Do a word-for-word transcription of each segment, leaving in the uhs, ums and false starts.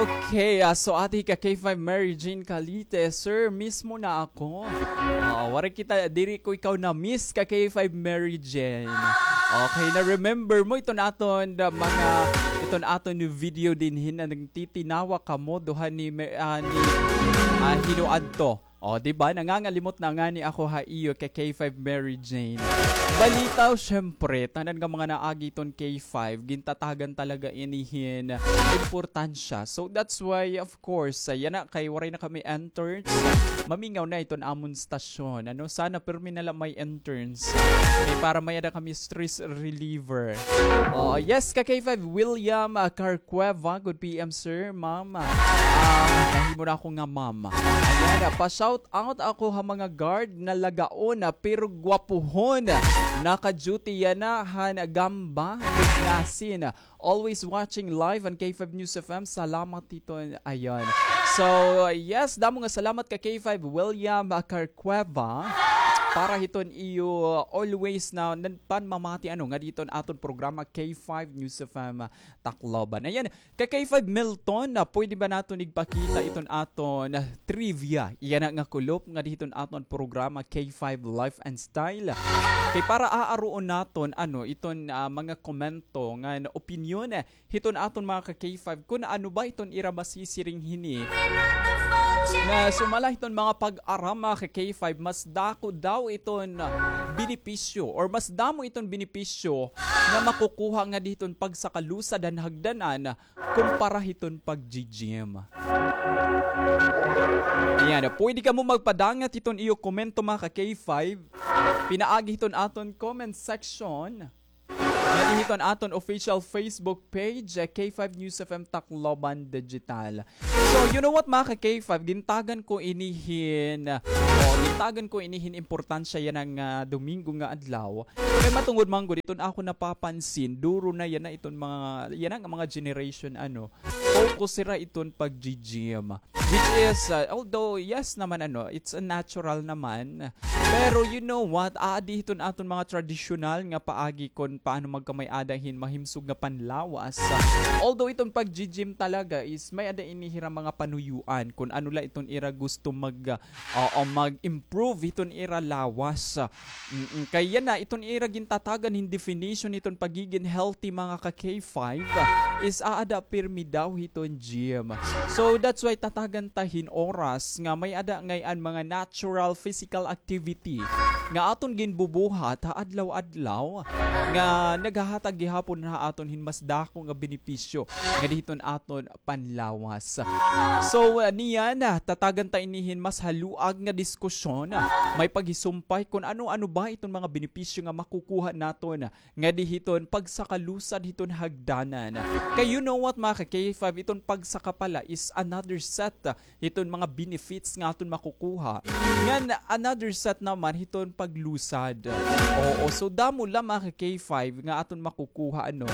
Okay, ah, so adi ka K five Mary Jane Calite, sir, miss mo na ako. Ah, waray kita, diri ko ikaw na-miss ka K five Mary Jane. Okay, na-remember mo iton aton, ah, mga, iton aton video dinhi nga nagtitinawa kamo duha ni, ah, ni, ah, hin-o adto. O, di ba? Nangangalimot na ngani ako ha iyo kay K five Mary Jane. Balitaw, syempre, tanan nga mga naagi iton K five, gintatagan talaga ini hin importansya. So, that's why, of course, ah, yana kay waray na kami interns. Mamingaw na iton amon stasyon. Ano, sana pirmi na la may interns. Kay para may-ada kami stress reliever. O, yes, ka K five, William, ah, Carcueva, good P M, sir, ma'am. Ah, nahimo na ako nga ma'am. Ayan, ah, pa-shout out ako ha mga guard na lagaon, ah, pero gwapuhon. Naka-duty yana han Gamba, Bugnasin. Always watching live on K five News F M. Salamat hiton, ayan. So, yes, damo nga salamat ka K five William, ah, Carcueva. Para hiton iyo, ah, always na, na panmamati, ano, ngadi hiton aton programa K five News F M, ah, Tacloban. Ayan, ka K five Milton, na pwede ba naton igpakita iton aton, ah, trivia? Yana nga kulop ngadi hiton aton programa K five Lifestyle. Kay para aaruon naton, ano, iton, ah, mga komento ngan opinyon, eh, hiton aton mga ka K five, kun ano ba iton ira masisiring hini. Nga sumala hiton mga pag-aram, mga ka K five, mas dako daw iton, ah, benepisyo or mas damo iton benepisyo nga makukuha ngadi hiton pagsakalusad han hagdanan kumpara hiton pagji-gym. Ayan, pwede kamo magpadangat hiton iyo komento, mga ka K five, pinaagi hiton aton comment section. Ngadi hiton aton official Facebook page, eh, K five News F M Tacloban Digital. So, you know what, mga ka K five, gintagan ko ini hin, o, gintagan ko ini hin importansya yana nga, ah, Domingo nga adlaw. Kay matungod man gud iton ako napapansin, duro na yana iton mga, yana nga mga generation, ano, focus sira iton pagji-gym. Which is, ah, although, yes naman, ano, it's a natural naman. Pero you know what? Aadi hiton aton mga tradisyonal nga paagi kon paano magkamay-ada hin mahimsog nga panlawas. Although iton pagji-gym talaga is may-ada ini hira mga panuyuan kon ano la iton ira gusto mag, ah, o mag-improve hiton ira lawas. Mm-mm. Kay yana, iton ira gintatagan hin definition hiton pagigin healthy, mga ka K five, is aada pirmi daw hiton gym. So, that's why tatagan ta hin oras nga may-ada ngay-an mga natural physical activity nga aton ginbubuhat ha adlaw-adlaw nga naghahatag gihapon ha aton hin mas dako nga benepisyo ngadi hiton aton panlawas. So, ah, niyan, ah, tatagan ta ini hin mas haluag nga diskusyon, ah, may paghisumpay kon ano-ano ba iton mga benepisyo nga makukuha naton ngadi hiton pagsakalusad hiton hagdanan. Kay you know what, mga ka K five, iton pagsaka pala is another set, ah, hiton mga benefits nga aton makukuha. Ngan another set naman hiton paglusad. Oo, so damo la, mga ka K five, nga aton makukuha, ano.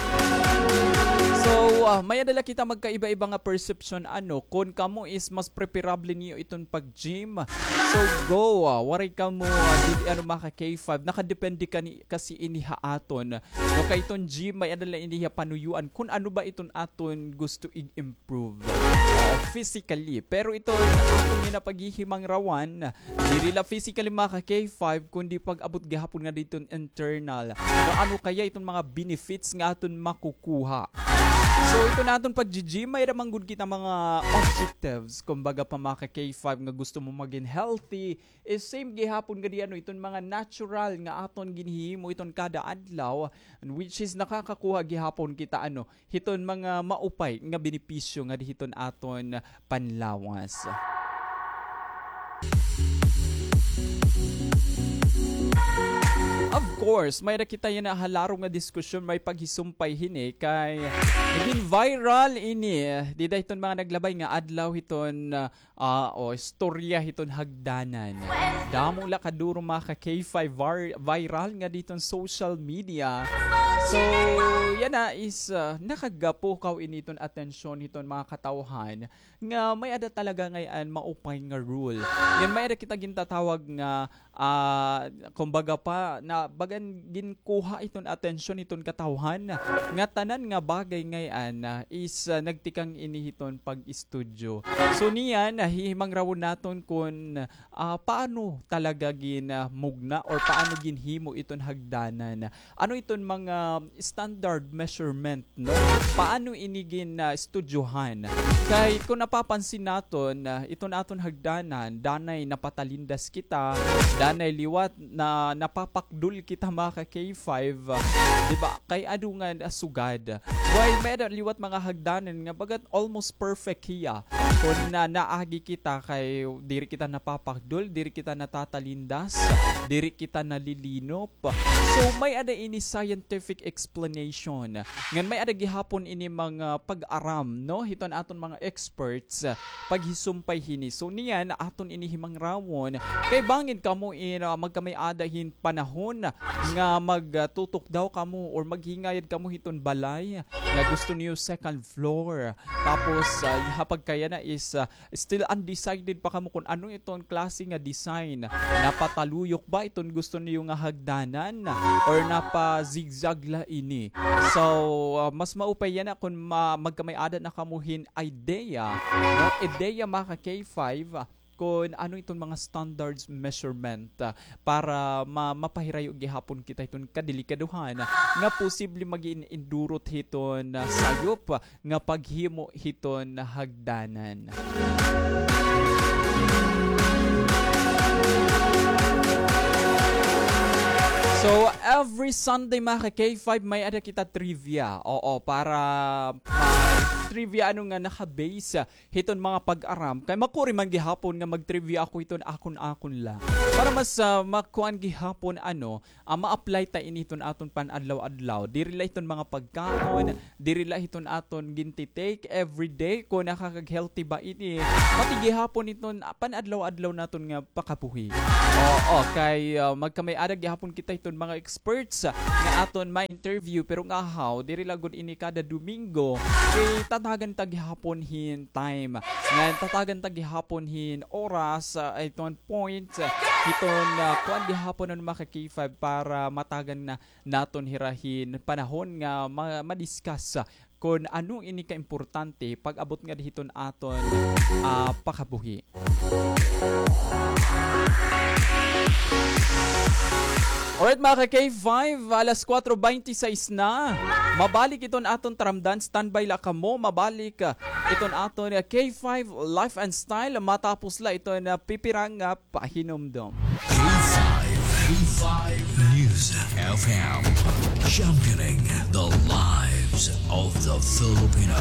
So, ah, may-ada la kita magkaiba-iba nga perception, ano, kon kamo is mas preferable niyo iton pag-gym. So, go, ah, waray kamo, ah, dili, ano, mga ka K five, nakadepende kani, kasi ini ha aton. No, kay iton gym, may-ada la ini ha panuyuan kon ano ba iton aton gusto i-improve, ah, physically. Pero iton aton nga napaghihimangrawan, diri la physically, mga ka K five, kundi pag-abot gihapon ngadi hiton internal. No, ano kaya iton mga benefits nga aton makukuha? So, iton aton pag-gym, may-ada man gud kita mga objectives. Kumbaga pa, mga ka K five, nga gusto mo magin healthy, is same gihapon ngadi, ano, iton mga natural nga aton ginhihimo iton kada adlaw, which is nakakakuha gihapon kita, ano, hiton mga maupay nga benepisyo ngadi hiton aton panlawas. Of course, may-ada kita yana ha larong nga diskusyon, may paghisumpay hini kay nagin viral ini dida hiton mga naglabay nga adlaw hiton, ah, ah, o, istorya hiton hagdanan. Damo la kaduro, mga ka K five, var-, viral ngadi hiton social media. So, yana is, ah, nakagapukaw ini hiton atensyon hiton mga katawhan nga may-ada talaga ngay-an maupay nga rule. Ngan may-ada kita gintatawag nga, ah, kumbaga pa, na bagan ginkuha iton atensyon iton katawhan nga tanan nga bagay ngay-an, ah, is, ah, nagtikang ini hiton pag-estudyo. So niyan, ah, hihimangrawon naton kun, ah, paano talaga gin, ah, mugna or paano ginhimo iton hagdanan. Ano iton mga standard measurement, no? Paano ini gin, ah, estudyohan? Kay kung napapansin naton, ah, iton aton hagdanan, danay napatalindas kita, danay liwat na napapakdol kita, mga ka-K five, ah, di ba? Kay adu nga, ah, sugad. While may-ada liwat mga hagdanan nga bagat almost perfect hiya. Kun na naagi kita kay diri kita napapakdol, diri kita natatalindas, diri kita nalilinop. So, may-ada ini scientific explanation. Ngan may-ada gihapon ini mga pag-aram, no? Hiton aton mga experts, ah, paghisumpay hini. So, niyan, aton ini himangrawon. Kay bangin kamo in, ah, magkamay-ada hin panahon nga magtutok daw kamo or maghingayad kamo hiton balay nga gusto niyo second floor. Tapos, ah, ha pagkayana is, ah, still undecided pa kamo kun ano iton klase nga design. Napataluyok ba iton gusto niyo nga hagdanan or napa-zigzag la ini? So, ah, mas maupay yana kun ma-, magkamay-ada na kamo hin idea, no? Ideya, mga ka-K five, kun ano iton mga standards measurement, ah, para ma-, mapahirayo gihapon kita hiton kadelikadohan nga posible magin indurot hiton, ah, sayop nga paghimo hiton hagdanan. So, every Sunday, mga ka-K five, may-ada kita trivia. Oo, para, ah, trivia ano nga naka-base hiton mga pag-aram. Kay makuri man gihapon nga mag-trivia ako hiton akon-akon la. Para mas, ah, makuan gihapon, ano, ah, ma-apply ta ini hiton aton pan-adlaw-adlaw. Diri la hiton mga pagkaon, diri la hiton aton ginti-take everyday, kun nakakag-healthy ba ini. Pati gihapon hiton, ah, pan-adlaw-adlaw naton nga pakabuhi. Oo, kay, ah, magkamay-ada gihapon kita hiton mga experts, ah, nga aton ma-interview, pero ngahaw, diri la gud ini kada Domingo. Kay tatagan ta gihapon hin time. Ngan tatagan ta gihapon hin oras, ah, iton point, ah, hiton, ah, kuan gihapon, ano, mga ka-K five, para matagan na naton hira hin panahon nga ma-, ma-discuss, ah, kun ano ini kaimportante pag-abot ngada hiton aton, ah, pakabuhi. Alright, mga ka-K five, alas kuwatro bente sais na. Mabalik iton aton taramdan, standby la kamo. Mabalik, ah, iton aton, ah, K five Life and Style. Matapos la iton, ah, pipira nga pahinumdom. K five, K five News F M, championing the lives of the Filipino.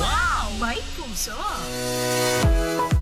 Wow! May puso!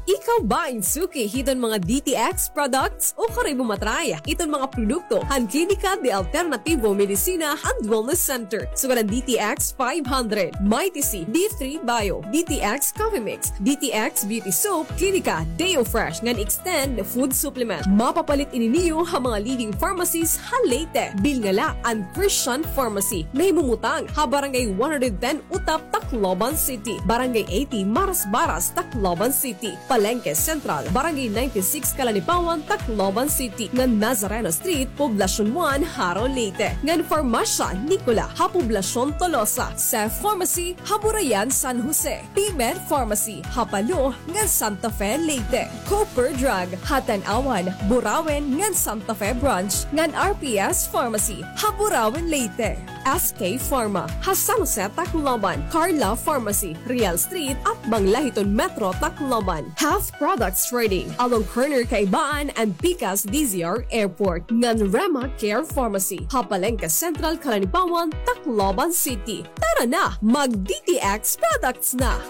Ikaw ba in suki hiton mga D T X products? O kari mo matry iton mga produkto han Klinika de Alternativo Medicina and Wellness Center. Sugad an D T X five hundred, Mighty C, D three Bio, D T X Coffee Mix, D T X Beauty Soap, Klinika Deo Fresh ngan Extend Food Supplement. Mapapalit ini niyo ha mga leading pharmacies ha Leyte. Bilnga la an Christian Pharmacy nga himumutang ha Barangay one hundred ten Utap, Tacloban City, Barangay eighty Marasbaras, Tacloban City, Palengke Central, Barangay ninety-six Calanipawan, Tacloban City, ngan Nazareno Street, Poblacion one, Jaro, Leyte, ngan Farmasya Nicola ha Poblacion Tolosa, Seth Pharmacy ha Burayan, San Jose, P-Med Pharmacy ha Palo ngan Santa Fe, Leyte, Cooper Drug ha Tanauan, Burauen ngan Santa Fe Branch, ngan R P S Pharmacy ha Burauen, Leyte. S K Pharma ha San Jose, Tacloban, Carla Pharmacy, Real Street, atbang la hiton Metro Tacloban. Half Products Trading, along corner Kaibaan and Pikas D Z R Airport, ngan Rema Care Pharmacy ha Palengke Central, Calanipawan, Tacloban City. Tara na, mag D T X products na!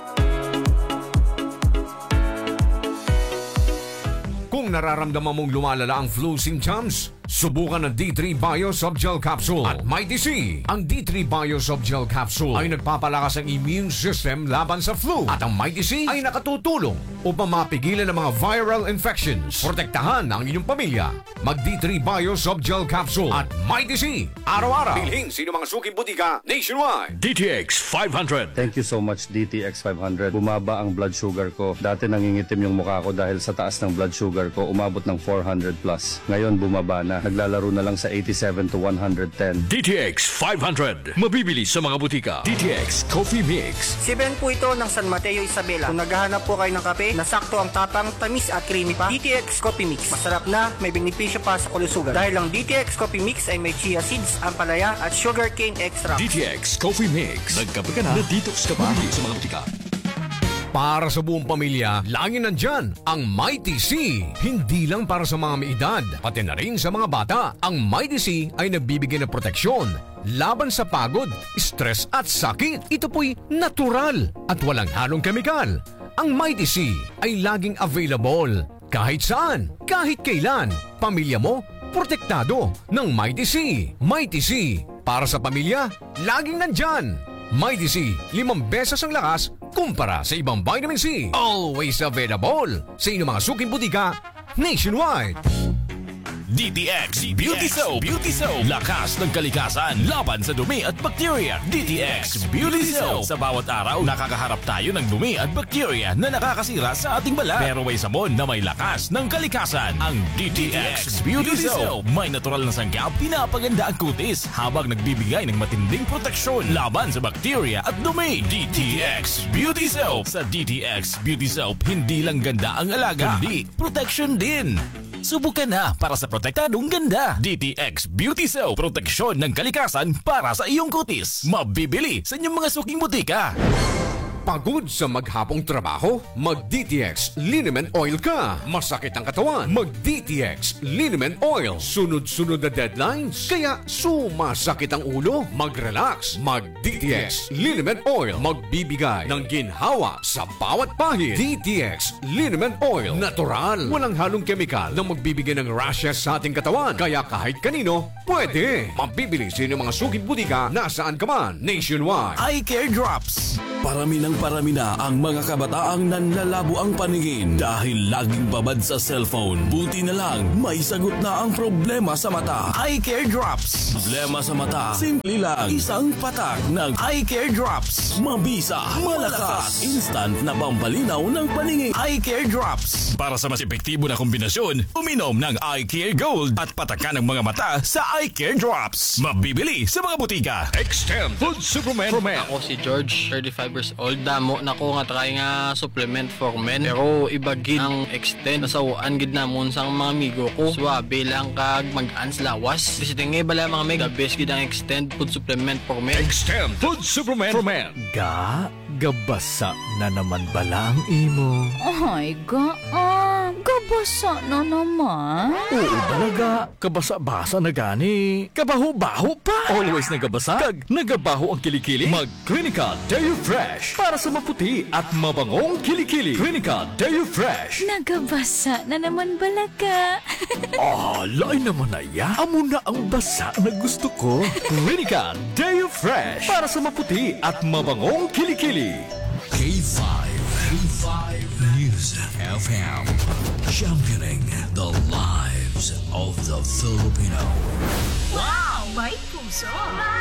Kung nararamdaman mong lumalala ang flu symptoms, Subukan ang D three Bio Soft Gel Capsule at Mighty C. Ang D three Bio Soft Gel Capsule ay nagpapalakas ng immune system laban sa flu. At ang Mighty C ay nakatutulong upang mapigilan ang mga viral infections. Protektahan ang inyong pamilya. Mag D three Bio Soft Gel Capsule at Mighty C araw-araw. Bilhin sa inyong mga suking butika nationwide. D T X five hundred. Thank you so much, D T X five hundred. Bumaba ang blood sugar ko. Dati nangingitim yung mukha ko dahil sa taas ng blood sugar ko, umabot ng four hundred plus. Ngayon, bumaba na. Naglalaro na lang sa eighty-seven to one hundred ten. D T X five hundred. Mabibili sa mga butika. D T X Coffee Mix. Si Ben po ito ng San Mateo, Isabela. Kung naghahanap po kayo ng kape na sakto ang tapang, tamis at creamy pa, D T X Coffee Mix. Masarap na, may benepisyo pa sa kalusugan. Dahil ang D T X Coffee Mix ay may chia seeds, ampalaya at sugarcane extract. D T X Coffee Mix. Nagkape ka na, na-detox ka pa. Mabibili sa mga butika. Para sa buong pamilya, laging nandyan ang Mighty C. Hindi lang para sa mga may edad, pati na rin sa mga bata. Ang Mighty C ay nagbibigay ng proteksyon laban sa pagod, stress at sakit. Ito po'y natural at walang halong kemikal. Ang Mighty C ay laging available kahit saan, kahit kailan. Pamilya mo, protektado ng Mighty C. Mighty C, para sa pamilya, laging nandyan. Mighty C, limang beses ang lakas kumpara sa ibang vitamin C. Always available sa inyong mga suking butika nationwide. D T X Beauty Soap. Beauty Soap. Lakas ng kalikasan laban sa dumi at bacteria. D T X Beauty Soap. Sa bawat araw, nakakaharap tayo ng dumi at bacteria na nakakasira sa ating balat. Pero may sabon na may lakas ng kalikasan. Ang D T X Beauty Soap. May natural na sangkap, pinapaganda ang kutis habang nagbibigay ng matinding proteksyon laban sa bacteria at dumi. D T X Beauty Soap. Sa D T X Beauty Soap, hindi lang ganda ang alaga, kundi protection din. Subukan na para sa protektadong ganda. D T X Beauty Soap, proteksyon ng kalikasan para sa iyong kutis. Mabibili sa inyong mga suking butika. Pagod sa maghapong trabaho? Mag D T X Liniment Oil ka. Masakit ang katawan? Mag D T X Liniment Oil. Sunod-sunod na deadlines? Kaya sumasakit ang ulo? Mag-relax. Mag D T X Liniment Oil. Magbibigay ng ginhawa sa bawat pahid. D T X Liniment Oil. Natural. Walang halong kemikal na magbibigay ng rashes sa ating katawan. Kaya kahit kanino, pwede. Mabibili sa inyong mga suking butika nasaan ka man nationwide. Eye Care Drops. Parami ng parami na ang mga kabataang nanlalabo ang paningin dahil laging babad sa cellphone. Buti na lang, may sagot na ang problema sa mata. Eye Care Drops. Problema sa mata, simple lang. Isang patak ng Eye Care Drops. Mabisa, malakas, instant na pampalinaw ng paningin. Eye Care Drops. Para sa mas epektibo na kombinasyon, uminom ng Eye Care Gold at patakan ang mga mata sa Eye Care Drops. Mabibili sa mga butika. Extend Food Supplement for Men. Ako si George, thirty-five years old. Damo na ko nga try nga supplement for men. Pero iba gid ang Extend. Nasaw-an gid namon sang mga amigo ko. Suabe lang kag mag-ans lawas. Basta nga bala, mga mig, the best gid ang Extend Food Supplement for Men. Extend Food Supplement for Men. Ga, gabasa na naman bala ang imo? Ay, ga, ah, gabasa na naman? Oo bala, ga. Kabasa-basa na gani. Kabaho-baho pa. Always nagabasa kag nagabaho ang kilikili? Mag Clinical Deo Fresh para sa maputi at mabangong kilikili. Clinical Deo Fresh. Nagabasa na naman bala ka. Ah, lain naman na iya. Amo na ang basa na gusto ko. Clinical Deo Fresh para sa maputi at mabangong kilikili. K five, K five News F M. Championing the lives of the Filipino. Wow! May puso!